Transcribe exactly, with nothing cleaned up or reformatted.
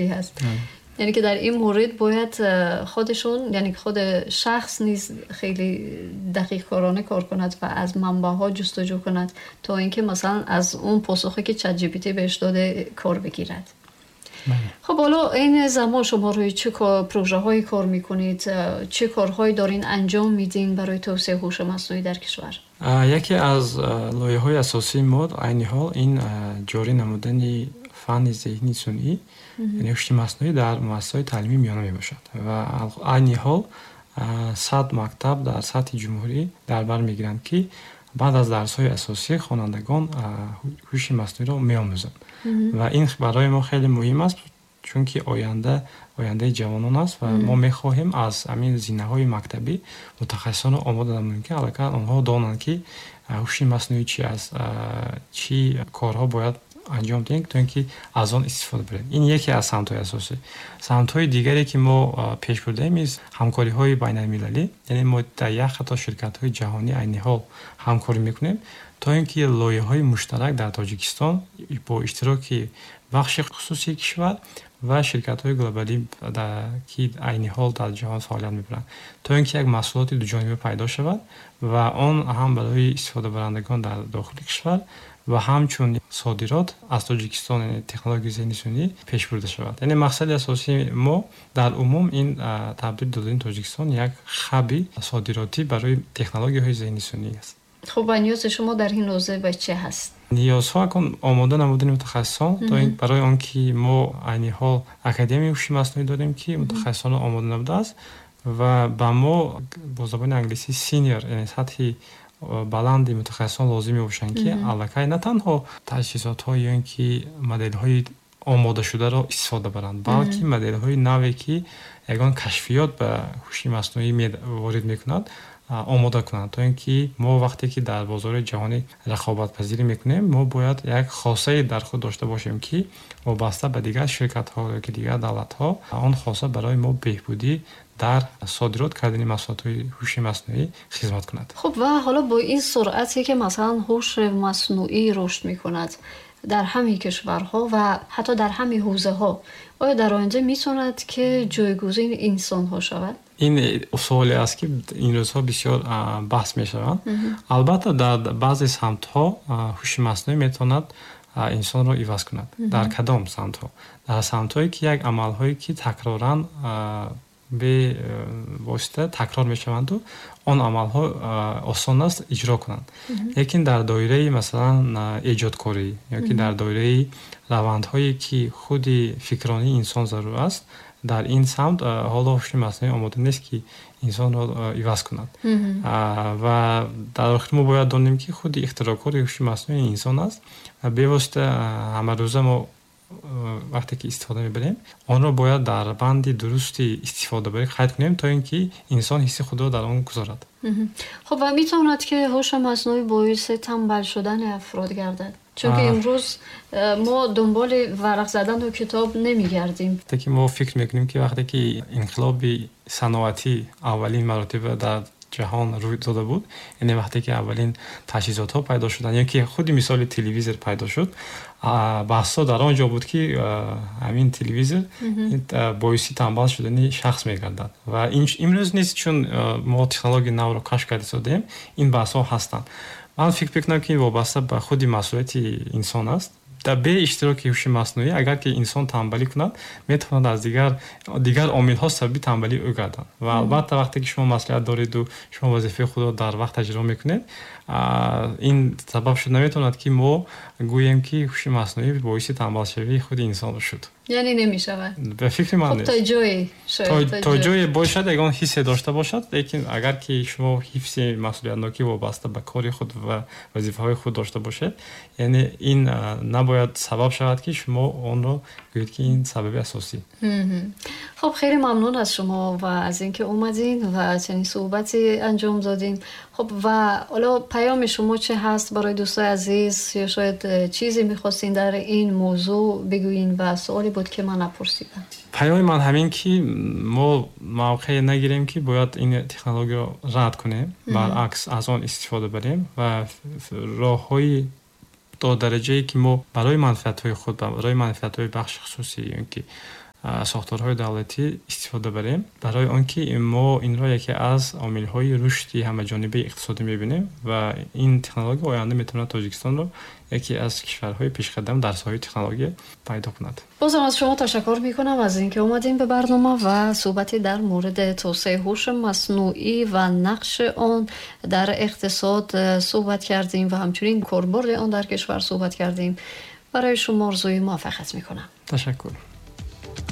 هست. یعنی که در این مورد باید خودشون، یعنی خود شخص نیز خیلی دقیق کارانه کار کند و از منبع ها جستجو کند تا اینکه مثلا از اون پاسخی که ChatGPT بهش داده کار بگیرد. خب، حالا این زمان شما روی چه پروژه هایی کار میکنید؟ چه کارهایی دارین انجام میدین برای توسعه هوش مصنوعی در کشور؟ یکی از لایحه‌های اساسی ما عین حال این جاری نمودن فن ذهنی صنعی، یعنی هوش مصنوعی، در مؤسسات تعلیمی میانه میباشد و عین حال صد مکتب در سطح جمهوری در بر میگیرند که بعد از درس‌های اساسی خوانندگان هوش مصنوعی را میآموزند و این برای ما خیلی مهم است، چون که آینده آینده جوانان است و ما میخواهیم از همین زینه‌های مکتبی متخصصان آماده نماییم که الکی آنها دانند که هوش مصنوعی چی است، چی کارها باید انجام دهیم تا اینکه از آن استفاده بریم. این یکی از سمت‌های اساسی. سمت‌های دیگری که ما پیش بردیم از همکاری‌های بین‌المللی، یعنی ما در یک خطا شرکت‌های جهانی عین حال همکاری میکنیم تا اینکه لایحه‌های مشترک در تاجیکستان با اشتراک بخش خصوصی کشور و شرکت‌های глобалӣ که عین حال در جهان فعالیت می‌برند، تا اینکه یک محصولات دوجانبه پیدا شود و آن هم برای استفاده برندگان در داخل کشور و همچون صادرات از تاجیکستان، یعنی تکنولوژی ذهنی صنعی، پیش برده شود. یعنی مقصد اساسی ما در عموم این تبدیل دادن تاجیکستان یک hub صادراتی برای تکنولوژی های ذهنی صنعی است. خب، و نیاز شما در این حوزه به چه هست؟ نیازها کن آماده نمودن متخصصان تا این برای آنکه ما عین حال اکادمی هوش مصنوعی داریم که متخصصان آماده نبوده است و به ما با زبان انگلیسی senior، یعنی سطح баланди мутахассисон лозим мебошанд, ки аллакай на танҳо таҷҳизотҳо ё ин ки моделҳои омодашударо истифода баранд, балки моделҳои наве, ки ягон кашфиёт ба ҳуши маснуӣ ворид мекунад, омода кунанд, то ин ки мо вақте ки дар бозори ҷаҳонӣ рақобатпазирӣ мекунем, мо бояд як хосае дар худ дошта бошем, ки вобаста ба дигар ширкатҳо ё ки дигар давлатҳо он хоса барои мо беҳбудӣ дар содирот кардани маҳсулотҳои ҳуши маснуӣ хизмат кунад. خب، و حالا با این سرعتی که مثلا هوش مصنوعی رشد میکند در همین کشورها و حتی در همین حوزه ها، آیا در آینده میتواند که جایگزین انسان ها شود؟ این سوالی است که این روزها بسیار بحث میشوند. البته در بعضی سمت ها هوش مصنوعی میتواند انسان را عوض کند. در کدام سمت ها؟ در سمت هایی که یک عمل هایی که تکرارا бевосита такрор мешаванду он амалҳо осон аст иҷро кунанд. Лекин дар доираи, масалан, эҷодкорӣ ё ки дар доираи равандҳое, ки худи фикронии инсон зарур аст, дар ин самт ҳоло ҳуши маснуӣ омода нест, ки инсонро иваз кунад. Ва дар охир мо бояд донем, ки худи ихтироъкори ҳуши маснуӣ инсон аст ва бевосита ҳамарӯза мо вақте ки истифода мебарем, онро бояд дар банди дурусти истифодабарӣ қайд кунем, то ин ки инсон ҳисси худро дар он гузорад. خب، و میتواند که هوش مصنوعی باعث تنبل شدن افراد گردد؟ چون که امروز ما دنبال ورق زدن و کتاب نمیگردیم. وقتی که ما فکر میکنیم که وقتی که انقلاب صنعتی اولین مراتب در ҷаҳон рӯй дода буд, яъне вақте ки аввалин таҷҳизотҳо пайдо шуданд ё ки худи мисоли телевизор пайдо шуд, баҳсҳо дар он ҷо буд, ки ҳамин телевизор боиси танбал шудани шахс мегардад. Ва имрӯз низ, чун мо технологияи навро кашф карда истодаем, ин баҳсҳо ҳастанд. Ман фикр мекунам, ки ин вобаста ба худи масъулияти инсон аст. Дар бе иштироки ҳуши маснуӣ, агар ки инсон танбалӣ кунад, метавонад аз дигар дигар омилҳо сабаби танбалии ӯ гарданд. Ва албатта, вақте ки шумо масъулият дореду шумо вазифаи худро дар вақт иҷро мекунед, ин сабаб шуд наметавонад, ки мо гӯем, ки ҳуши маснуӣ боиси танбалшавии худи инсон шуд. Яъне намешавад? Ба фикри ман нест. То ҷое. То ҷое бошад, ягон ҳиссе дошта бошад, лекин агар ки шумо ҳифзи масъулиятнокӣ вобаста ба кори худ ва вазифаҳои худ дошта бошед, яъне ин набояд сабаб шавад, ки шумо онро гӯед, ки ин сабаби асосӣ. خب، خیلی ممنون از شما و از اینکه اومدین و چنین صحبتی انجام دادین. خب، و حالا پیام شما چه هست برای دوستای عزیز یا شاید چیزی میخواستین در این موضوع بگویین و سوالی بود که من نپرسیدم؟ پیام من همین که ما موقع نگیریم که باید این технология رو رد کنیم، برعکس از آن استفاده بریم و راه تا درجه که ما برای منفعت های خود و برای منفعت های بخش خصوصی یا که сохторҳои давлатӣ истифода барем, барои он ки мо инро яке аз омилҳои рушди ҳамаҷонибаи иқтисодӣ мебинем ва ин технология оянда метавонад Тоҷикистонро яке аз кишварҳои пешқадам дар соҳаи технология пайдо кунад. Бозам аз шумо ташаккур мекунам аз инки омадем ба барнома ва суҳбате дар мавриди توسعه هوش مصنوعی و نقش آن در اقتصاد صحبت کردیم و همچنین کاربرد آن در کشور صحبت کردیم. برای شما آرزوی موفقیت میکنم. تشکر.